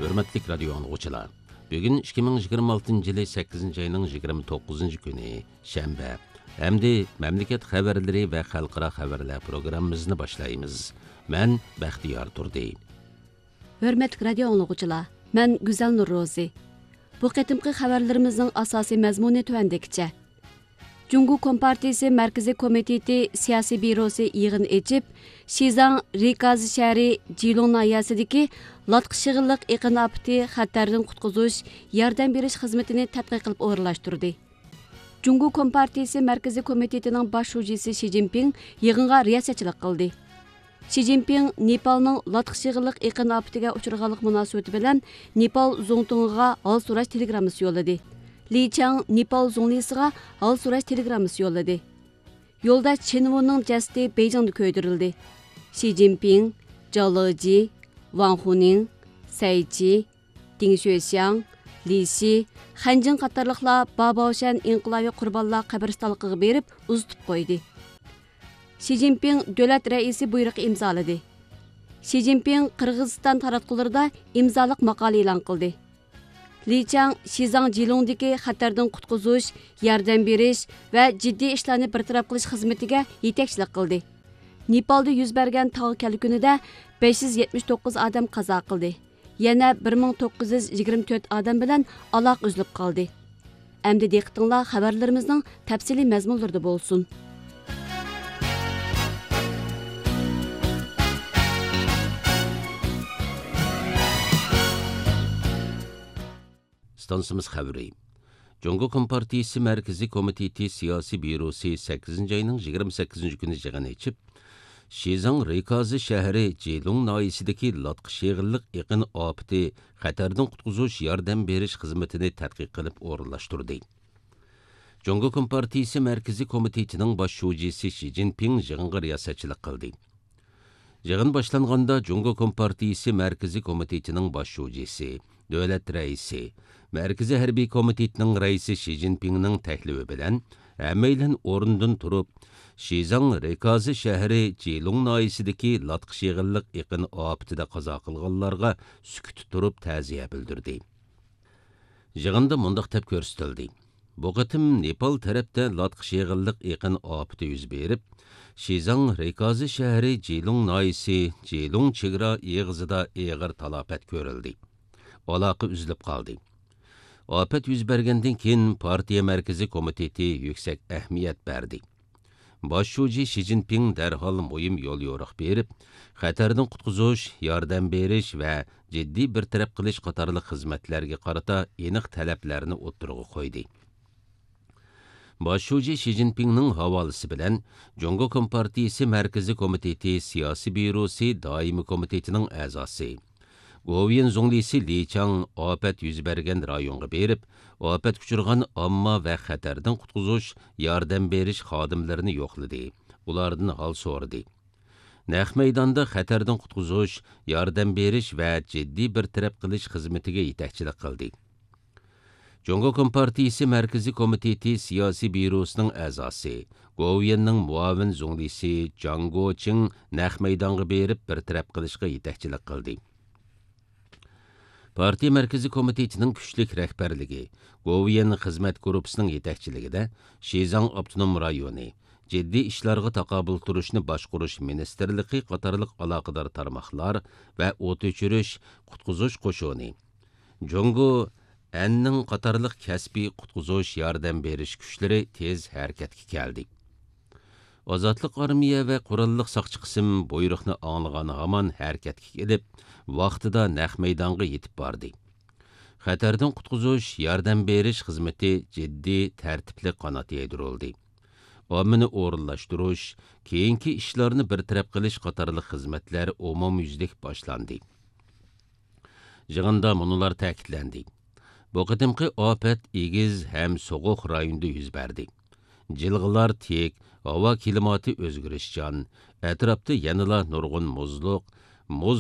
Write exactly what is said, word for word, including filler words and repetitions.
ھۆرمەتلىك رادىيو ئاڭلىغۇچىلار، بۈگۈن ئىككى مىڭ يىگىرمە ئالتىنچى يىلى سەككىزىنچى ئاينىڭ يىگىرمە توققۇزىنچى كۈنى، شەنبە. ئەمدى مەملىكەت خەۋەرلىرى ۋە خەلقئارا خەۋەرلەر پروگراممىمىزنى باشلايمىز. مەن بەختىيار تۇردى. ھۆرمەتلىك رادىيو ئاڭلىغۇچىلار، مەن گۈزەل نۇرروزى. بۇ قېتىمقى خەۋەرلىرىمىزنىڭ ئاساسىي مەزمۇنى تۆۋەندىكىچە. جۇڭگو كومپارتىيىسى مەركىزىي كومىتېتى سىياسىي بيۇروسى يىغىن ئېچىپ، شىزاڭ رىكازى شەھىرى جىلۇڭ ناھىيەسىدىكى لاتقا شېغىللىق ئېقىن ئاپىتى خەتەردىن قۇتقۇزۇش ياردەم بېرىش خىزمىتىنى تەتقىق قىلىپ ئورۇنلاشتۇردى. جۇڭگو كومپارتىيىسى مەركىزىي كومىتېتىنىڭ باش شۇجىسى شى جىنپىڭ يىغىنغا رىياسەتچىلىك قىلدى. شى جىنپىڭ نېپالنىڭ لاتقا شېغىللىق ئېقىن ئاپىتىگە ئۇچرىغانلىقى مۇناسىۋىتى بىلەن نېپال زۇڭتۇڭىغا ھال سوراش تېلېگراممىسى يوللىدى. لى چاڭ نېپال زۇڭلىسىغا ھال سوراش تېلېگراممىسى يوللىدى. يولداش چېن ۋۇنىڭ جەسىتى بېيجىڭدا كۆيدۈرۈلدى. شى جىنپىڭ، جاۋ لېجى، ۋاڭ خۇنىڭ، سەي چى، دىڭ شۆشياڭ، لى شى، خەنجىڭ قاتارلىقلار باباۋشەن ئىنقىلابىي قۇربانلار قەبرىستانلىقىغا بېرىپ ئۇزىتىپ قويدى. شى جىنپىڭ دۆلەت رەئىسى بۇيرۇقى ئىمزالىدى. شى جىنپىڭ قىرغىزىستان تاراتقۇلىرىدا ئىمزالىق ماقالە ئېلان قىلدى. لى چاڭ شىزاڭ جىلۇڭدىكى خەتەردىن قۇتقۇزۇش، ياردەم بېرىش ۋە جىددىي ئىشلارنى بىر تەرەپ قىلىش خىزمىتىگە يېتەكچىلىك قىلدى. نېپالدا يۈز بەرگەن تاغ كەلكۈنىدە بەش يۈز يەتمىش توققۇز ئادەم قازا قىلدى. يەنە بىر مىڭ توققۇز يۈز يىگىرمە تۆت ئادەم بىلەن ئالاقە ئۈزۈلۈپ قالدى. ئەمدى دىققىتىڭلار خەۋەرلىرىمىزنىڭ تەپسىلىي مەزمۇنلىرىدا بولسۇن. ئىستانسىمىز خەۋىرى. جۇڭگو كومپارتىيىسى مەركىزىي كومىتېتى سىياسىي بيۇروسى سەككىزىنچى ئاينىڭ يىگىرمە سەككىزىنچى كۈنى يىغىن ئېچىپ، شىزاڭ رىكازى شەھىرى جىلۇڭ ناھىيىسىدىكى لاتقا شېغىللىق ئېقىن ئاپىتى خەتەردىن قۇتقۇزۇش ياردەم بېرىش خىزمىتىنى تەتقىق قىلىپ ئورۇنلاشتۇردى. جۇڭگو كومپارتىيىسى مەركىزىي كومىتېتىنىڭ باش شۇجىسى شى جىنپىڭ يىغىنغا رىياسەتچىلىك قىلدى. يىغىن باشلانغاندا، جۇڭگو كومپارتىيىسى مەركىزىي كومىتېتىنىڭ باش شۇجىسى، دۆلەت رەئىسى، مەركىزىي ھەربىي كومىتېتنىڭ رەئىسى شى جىنپىڭنىڭ تەكلىپى بىلەن ھەممەيلەن ئورنىدىن تۇرۇپ، شىزاڭ رىكازى شەھىرى جىلۇڭ ناھىيىسىدىكى لاتقا شېغىللىق ئېقىن ئاپىتىدە قازا قىلغانلارغا سۈكۈتتە تۇرۇپ تەزىيە بىلدۈردى. يىغىندا مۇنداق دەپ كۆرسىتىلدى: بۇ قېتىم نېپال تەرەپتە لاتقا شېغىللىق ئېقىن ئاپىتى يۈز بېرىپ، شىزاڭ رىكازى شەھىرى جىلۇڭ ناھىيىسى جىلۇڭ چېگرا ئېغىزىدا ئېغىر تالاپەت كۆرۈلدى. ئالاقە ئۈزۈلۈپ قالدى. ئاپەت يۈز بەرگەندىن كېيىن، پارتىيە مەركىزىي كومىتېتى يۈكسەك ئەھمىيەت بەردى. باش شۇجى شى جىنپىڭ دەرھال مۇھىم يوليورۇق بېرىپ، خەتەردىن قۇتقۇزۇش، ياردەم بېرىش ۋە جىددىي بىر تەرەپ قىلىش قاتارلىق خىزمەتلەرگە قارىتا ئېنىق تەلەپلەرنى ئوتتۇرىغا قويدى. باش شۇجى شى جىنپىڭنىڭ ھاۋالىسى بىلەن، جۇڭگو كومپارتىيىسى مەركىزىي كومىتېتى سىياسىي بيۇروسى دائىمىي كومىتېتىنىڭ ئەزاسى، گوۋۇيۈەن زۇڭلىسى لى چاڭ ئاپەت يۈز بەرگەن رايونغا بېرىپ، ئاپەتكە ئۇچرىغان ئامما ۋە خەتەردىن قۇتقۇزۇش، ياردەم بېرىش خادىملىرىنى يوقلىدى، ئۇلاردىن ھال سورىدى. نەق مەيداندا خەتەردىن قۇتقۇزۇش، ياردەم بېرىش ۋە جىددىي بىر تەرەپ قىلىش خىزمىتىگە يېتەكچىلىك قىلدى. جۇڭگو كومپارتىيىسى مەركىزىي كومىتېتى سىياسىي بيۇروسىنىڭ ئەزاسى، گوۋۇيۈەننىڭ مۇئاۋىن زۇڭلىسى جاڭ گوچىڭ نەق مەيدانغا بېرىپ بىر تەرەپ قىلىشقا يېتەكچىلىك قىلدى. پارتىيە مەركىزىي كومىتېتىنىڭ كۈچلۈك رەھبەرلىكى، گوۋۇيۈەن خىزمەت گۇرۇپپىسىنىڭ يېتەكچىلىكىدە شىزاڭ ئاپتونوم رايونى، جىددىي ئىشلارغا تاقابىل تۇرۇشنى باشقۇرۇش مىنىستىرلىقى قاتارلىق ئالاقىدار تارماقلار ۋە ئوت ئۆچۈرۈش، قۇتقۇزۇش قوشۇنى، جۇڭگو ئەننىڭ قاتارلىق كەسپىي قۇتقۇزۇش، ياردەم بېرىش كۈچلىرى تېز ھەرىكەتكە كەلدى. ئازادلىق ئارمىيە ۋە قوراللىق ساقچى قىسىم بۇيرۇقنى ئاڭلىغان ھامان ھەرىكەتكە كېلىپ، ۋاقتىدا نەق مەيدانغا يېتىپ باردى. خەتەردىن قۇتقۇزۇش، ياردەم بېرىش خىزمىتى جىددىي، تەرتىپلىك قانات يايدۇرۇلدى. ئاممىنى ئورۇنلاشتۇرۇش، كېيىنكى ئىشلارنى بىر تەرەپ قىلىش قاتارلىق خىزمەتلەر ئومۇميۈزلۈك باشلاندى. يىغىندا مۇنۇلار تەكىتلەندى: بۇ قېتىمقى ئاپەت ئېگىز ھەم سوغۇق رايوندا يۈز بەردى. جىلغىلار تىك، ھاۋا كىلىماتى ئۆزگىرىشچان، ئەتراپتا يەنىلا نۇرغۇن مۇزلۇق، مۇز